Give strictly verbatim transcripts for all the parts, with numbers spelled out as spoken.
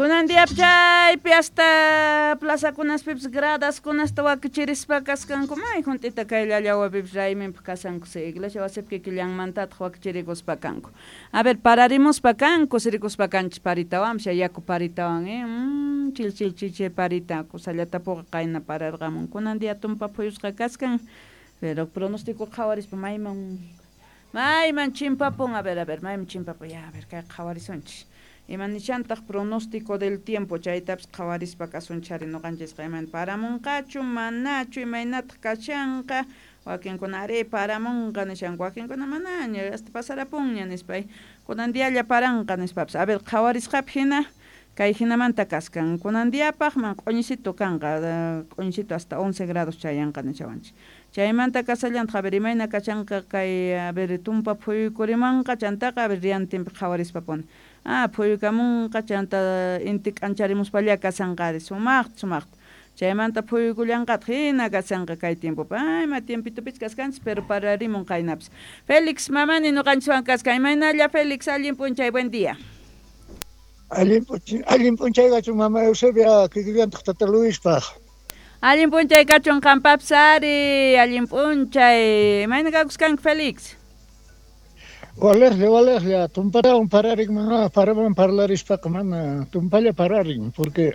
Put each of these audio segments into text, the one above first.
Kunan diapi chaypi hasta plazakunaspipis gradaskunasta wakichirispa kaskanku may junt'ita kay llallawapipis rayminpaq kashanku iglesia wasipi kikillanmantataq wakichirikuspa kanku. A ver, pararimuspa kanku, sirikuspa kanchis paritawanpas yaku paritawan, eh, mm, chil chil chiche parita kusallatapuqa qayna pararqamun. Kunan dia tumpa phuyusqa kaskan, pero pronóstico qhawarispa mayman mayman chimpapun, a ver, a ver, mayman chimpapun, ya, a ver, kay qhawarisunchis. Ima nishantaq pronóstico del tiempo chaytapas qhawarispa kasunchari ñuqanchisqa imayna paramunqachu manachu imaynataq kashanqa wakinkuna ari paramunqa nishanku wakinkuna manaña hasta pasarapunña nispa kunan dialla paranqa nispapas a ver qhawarisqapi hina kay hinamanta kaskan kunan diapaq man q'uñisito kanqa q'uñisito hasta once grados chayanqa nishawanchik chaymanta kasallantaq a ver imayna kashanqa kay a ver tumpa phuyukurimanqa chantaqa a ver riantinpi qhawarispa puni ah phuyukamunqa chanta inti k'ancharimuspalla kashanqari sumaqta sumaqta chaymanta phuyukullanqataq hina kashanqa kay tiempopi ay ima tiempitopich kaskanchis pero pararimun qaynapis. Félix Mamani ñuqanchiswan kaskan imaynalla Félix allin p'unchay buen día. Allin p'unchay allin p'unchay kachun mama Eusebia kikillantaq tata Luispaq. Allin p'unchay kachun qampapis ari allin p'unchay imayna kakuskanki Félix. Waliqlla waliqlla tumpatawan pararin mana paraman parlarispaqa mana tumpalla pararin porque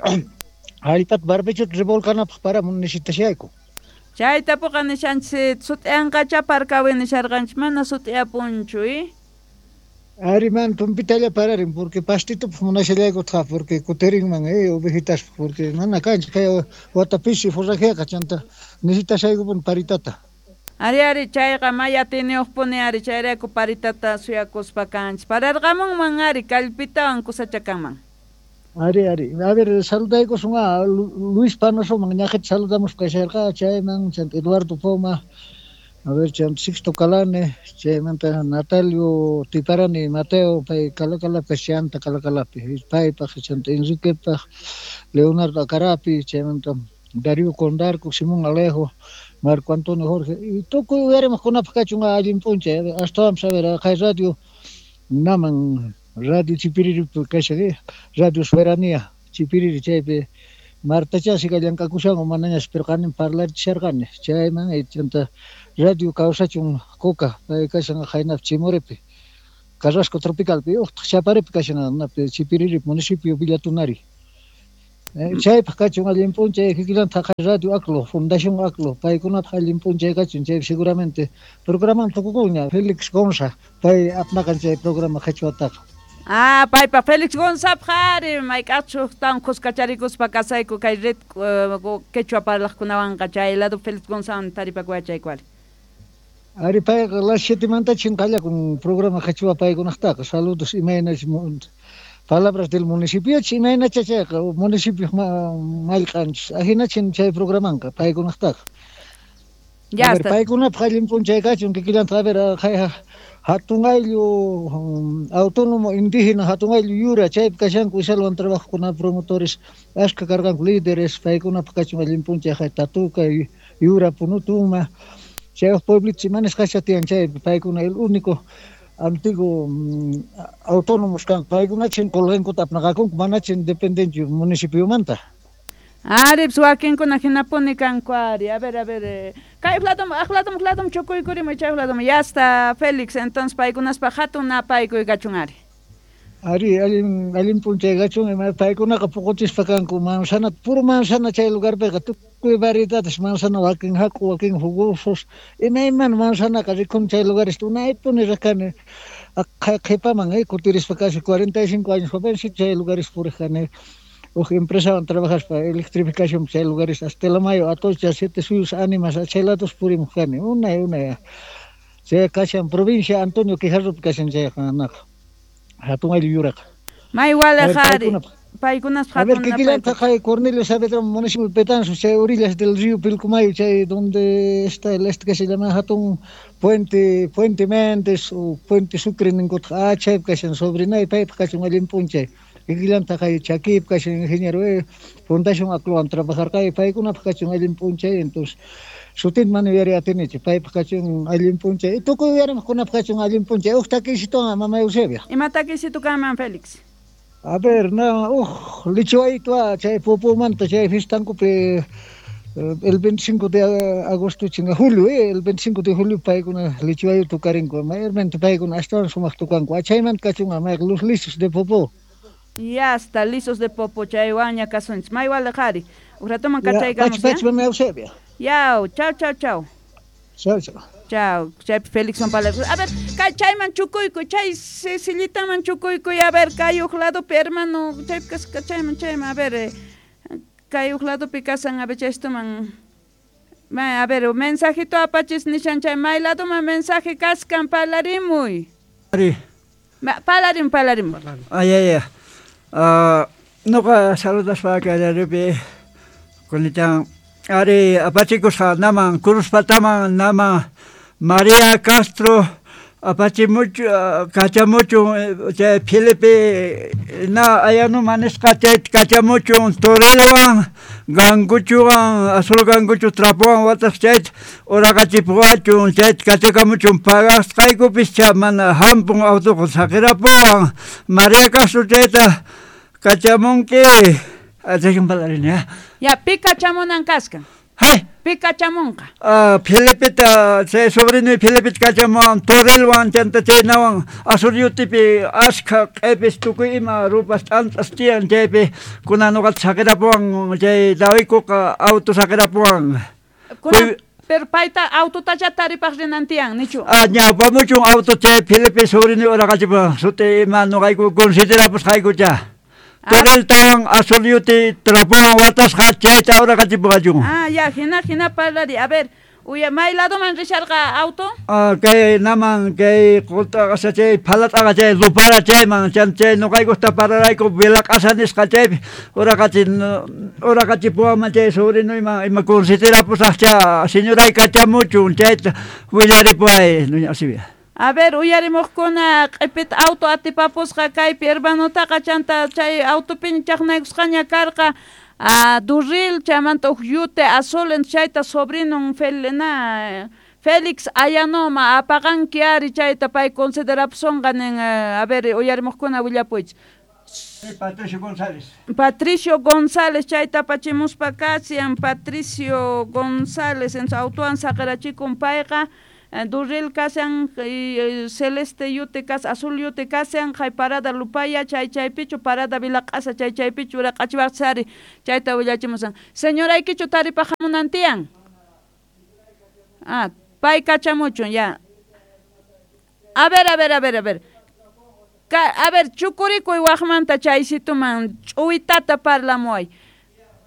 allpata barbechota revolcanapaq paramun necesitashayku. Chaytapuqa nishanchis sut'iyanqacha parkawi nisharqanchis mana sut'iyapunchu eh. Ari man tumpitalla pararin porque pastitupaq munashallaykutaq porque kutirinman eh ovejitaspaq porque mana kanchik kay wata pisi forrajeqa chanta necesitashaykupuni paritata. Ari ari chayqa may atiyniyuqpuni ari chayrayku paritata suyakuspa kanchis pararqamunman ari kallpitawan kusacha kanman. Ari ari a ver saludaykusun a Luis Panosoman ñaqita saludamuspa kasharqa chayman chanta Eduardo Poma a ver chanta Sixto Calane chaymanta Natalio Tiparani Mateo pay Calacalapi chanta Calacalapi paypaq chanta Enriquepaq Leonardo Acarapi chaymanta Darío Condarco Simón Alejo Marco Antonio Jorge y tukuy uyarimaqkunapaq kachun allin p'unchay astawanpas a ver kay radio naman Radio Chipiriri kashan Radio Soberanía Chipiriri chaypi Martachasika llank'akushanku manañas pero qanin parlarichisharqani chayman chanta Radio kawsachun Coca pay kashan qaynapi Chimoripi Carrasco Tropicalpi uqtaq Chaparipi kashan napi Chipiriri municipio Villa Tunari chaypaq kachun allin p'unchay kikillantaq Radio Aclo Fundación Aclo paykunapaq allin p'unchay kachun chay seguramente programan tukukunña Félix Gonza pay apnaqan chay programa qhichwataqa. Ah, paypa Félix Gonzapaq ari mayk'aqchus huktawan kuskacharikuspa kasayku kay red quechua parlaqkunawanqa chay lado Félix Gonzawan taripakuwachayku ari. Ari payqa las siete mantachin qallakun programa qhichwa paykunaqtaqa saludos imaynach palabras del municipio imaynacha chayqa municipio mallq'anchis ahinachin chay programanqa paykunaqtaqa. Ya A ver paykunapaq allin p'unchay kachun kikillantaq a ver hatun ayllu autónomo indígena hatun ayllu yura chaypi kashanku Isalwan trabajokuna promotores ashka karqanku líderes paykunapaq kachun allin p'unchay Tatuka yura Punutuma chay huk pueblito imanisqacha tiyan chaypi paykuna el único antiguo autónomos kanku paykunachin qulqinkuta apnaqakunku manachin dependenchu municipiomanta. Ari, wakinkuna hinapuni kanku ari. A ver, a ver, eh, kay ladom, aqladom, ladom chukuykurimuy chay ladom. Ya está, Félix, entonces paykunaspaq hatun napaykuy kachun ari. Ari, allin allin p'unchay kachun ima paykunaqa puquchispa kanku manzana, puro manzana chay lugarpiqa tukuy variedades manzana wakin hak'u wakin jugosos imaymana manzanaqa rikun chay lugares unaypuni riq kani qhipaman eh kutirispa casi cuarenta y cinco años jovencito chay lugares puriq kani huk empresawan trabajaspa electrificación chay lugares hasta Telamayo, Atocha, Siete Suyos, Ánimas, chay lados purimuq kani unay unay chay kashan provincia Antonio Quijarropi kashan chayqa naqa hatun ayllu yuraqa. May waliq ari paykunaspaq A ver, hatun kikillantaq napaykuy. kay Cornelio Saavedra municipio Betanzos chay orillas del río Pilcomayo chay donde está el este que se llama hatun puente Puente Méndez o Puente Sucre ninkutaq ah chaypi kashan sobrinay paypaq kachun allin p'unchay kikillantaq kay Chaquipi kashan ingeniero eh Fundación Aclowan trabajarqay paykunapaq kachun allin p'unchay entonces sutinta mana yuyariy atinichu paypaq kachun allin p'unchay tukuy uyarimaqkunapaq kachun allin p'unchay huk takisituwan mama Eusebia. Ima takisitu kanman Félix? A ver, na, uj, lichiwaytua, chay Popomanta, chay fistankupi, el veinticinco de agosto, chinga, julio, eh, el veinticinco de julio, paykuna lichiwayu tukarinku, mayormente paykuna astawan sumaq tukanku, achaymanta kachunqa, may los lisos de Popó. Ya está, lisos de Popó, chaywanña kasunchis, may waliq ari, uj ratoman kachaykamus, ya? Pachi, pachi, Yau, chau, chau, chau. Chau, chau. Chau, chaypi Felixwan parlar. A ver, kay chayman chukuykuy, chay sillitaman chukuykuy, a ver, kay uj ladopi, hermano, chaypi kasqa chayman, chayman, a ver, eh, kay uj ladopi kasan, a ver, chaystuman, ma, a ver, mensajito apachis nishan chay, may ladoman mensaje kaskan, parlarimuy. Ari. Ma, parlarimuy, parlarimuy. Ay, ay, ay. Uh, noqa saludaspa kallaripi, kunitan, ari apachikusqa naman, Cruzpataman naman, María Castro apachimuchu, kachamuchun, chay Felipe na Ayanoma nisqa chay kachamuchun torelwan, ganguchuwan, azul ganguchu trapowan watas chayta uraqachipuwachun, chayta kachakamuchun pagasqaykupis cha mana hampun autoqa saqirapuwan. María Castro chayta kachamunki. Chaykan parlarini, ya. Ya, pi kachamunan kaskan. Hay. Pi kachamunqa. Ah, Felipeta, chay sobrino Felipeta kachamuwan, torelwan, chanta chaynawan, azul yutipi ashkha q'ipis tukuy ima rupas t'ant'as tiyan chaypi kunan nuqata saqirapuwan chay dawikuqa auto saqirapuwan. Kunan, pero payta autotacha taripaq rinan tiyan, nichu? Ah, ñawpamuchun auto chay Felipe sobrino uraqachipuwan, suti ima nuqayku considerapusqaykucha. Toreltawan azul yuti trapowan watasqa chayta uraqachipuwachun. Ah, ya, hina, hina parlari. A ver, uya, may ladoman risharqa auto? Ah, kay naman, kay qultaqasa chay phalat'aqa chay lupara chayman, chan chay nuqaykusta pararayku vilaq'asa nisqa chaypi uraqachin uraqachipuwanman chay sobrinuyman ima considerapusaqcha señoray kachamuchun chayta willaripuway, doña Eusebia. A ver, uyarimuqkuna q'ipita auto atipapusqa kaypi hermanotaqa chanta chay autopiña chaqnaykusqaña karqa a Durril chaymanta uj yute azul chayta sobrinon Fel, na, Félix Ayanoma apaqanki ari chayta pay considerapusonqa nin, a ver, uyarimuqkuna willapuychis. Patricio González. Patricio González chayta apachimuspa kasian, Patricio González en su autowan saqirachikun payqa. Durril kasan, celeste yute kas, azul yute kasan, hay parada lupaya, chay chaypichu, parada vilaq'asa, chay chaypichu, uraq'achiwaqsari, chayta willachimusan. Señoraykichu taripaq hamunan tiyan? Ah, pay kachamuchun, ya. A ver, a ver, a ver, a ver. Ka, a ver, chukurikuy waqmanta chaysituman, ch'uwitata parlamuway.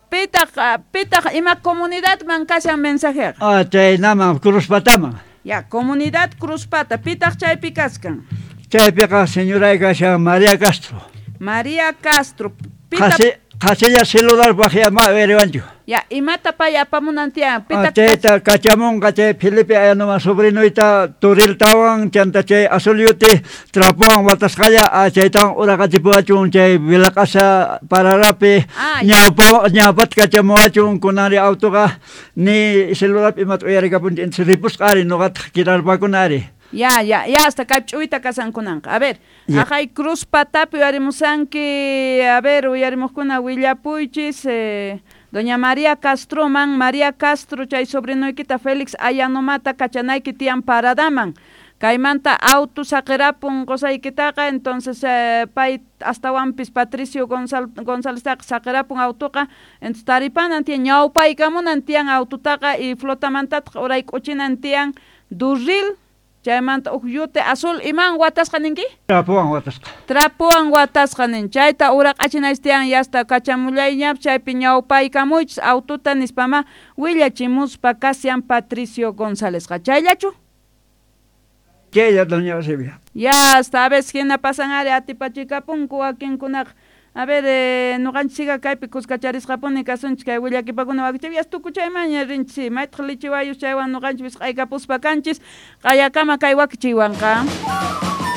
Pitaq, pitaq ima comunidadman kashan mensajeqa? Ah, chay naman, Cruzpataman. Ya, comunidad Cruzpata, pitaq chaypi kaskan? Chaypiqa señoray kashan María Castro. María Castro. Pita... Qhasilla celular waqyama uyariwanchu. Ya, imata pay apamunan tiyan? Pitaq chayta kachamunqa chay Felipe Ayanoma sobrinuyta toriltawan chanta chay azul yuti trapowan watasqalla chaytawan uraqachipuwachun chay vilaq'asa pararapi ñawpa ñawpata kachamuwachun kunanri autoqa ni celularpi imata uyarikapunchu entonces ripusqa ari nuqataq kirarpakuna ari. Ya, ya, ya, hasta kay ch'uwita kasankunanqa. A ver, ajay Cruzpatapi uyarimusanki, a ver, uyarimuqkuna willapuychis, eh, doña María Castroman, María Castro, chay sobrinoykita Félix Ayanomata kachanayki tiyan paradaman. Kaymanta auto saqirapun qosaykitaqa, entonces eh, pay astawanpis Patricio Gonzal, Gonzáleztaqa saqirapun autoqa, entonces taripanan tiyan, ñawpaykamunan tiyan autotaqa y flotamantataq urayk'uchinan tiyan Durril, chaymanta uj yute azul iman watasqa ninki? Trapowan watasqa. Trapowan watasqa nin. Chayta uraq'achinaysi tiyan yasta kachamullayñap chaypi ñawpaykamuychis autota nispama willachimuspa kasian Patricio Gonzálezqa. Chayllachu? Chaylla, doña Eusebia. Ya, hasta a veces hina pasan ari atipachikapunku wakinkunaqa. A ver, eh, nuqanchikqa kaypi kuskacharisqapuni kasunchik kay willakipakuna wakichiy tukuchaymanña rinchis maytaq lichiwayus chaywan nuqanchik wisq'aykapuspa kanchis q'ayakama kay wakichiywanqa.